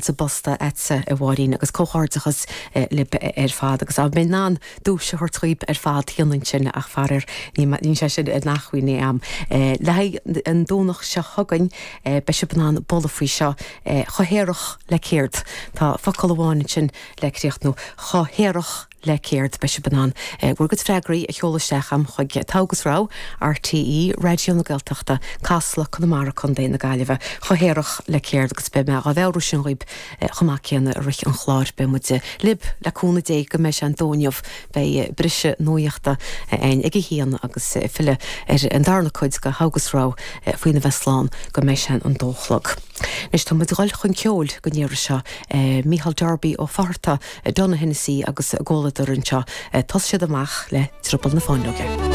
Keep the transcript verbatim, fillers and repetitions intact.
sa bpost agatsa a Mháirín agus comhghairdeachas libh ar fad agus a mé ná dúis thuirtríb ar fad hionann sin ach faraor ní sé sin in acmhainn agam. Le an Domhnach seo chugainn beidh sibh in ann bualadh faoi seo chomh haerach le céard Tá focal amháin sin le críochnú chomh haerach le céard beidh sibh in ann bhur gcuid freagraí a sheoladh isteach chuig Togha agus Rogha RTÉ Raidió na Gaeltachta Casla Conamara Contae na Gaillimhe chomh haerach le céard agus beidh mé á mheabhrú sin dhaoibh chomh maith céanna i rith an chláir beidh muid libh le cúnamh Dé go mbeidh sé an dó inniu beidh briseadh nuachta ann ag a haon agus filleadh ar an darna cuid de Thogha agus Rogha faoina bheith slán go mbeidh sé an dó a chlog. Anois tá muid ag dul chun ceoil don iarraidh seo Micheál Darby Ó Fatharta Donna Hennessy agus a gcomhluadar anseo tos siad amach le Drioball na Fáinleoige.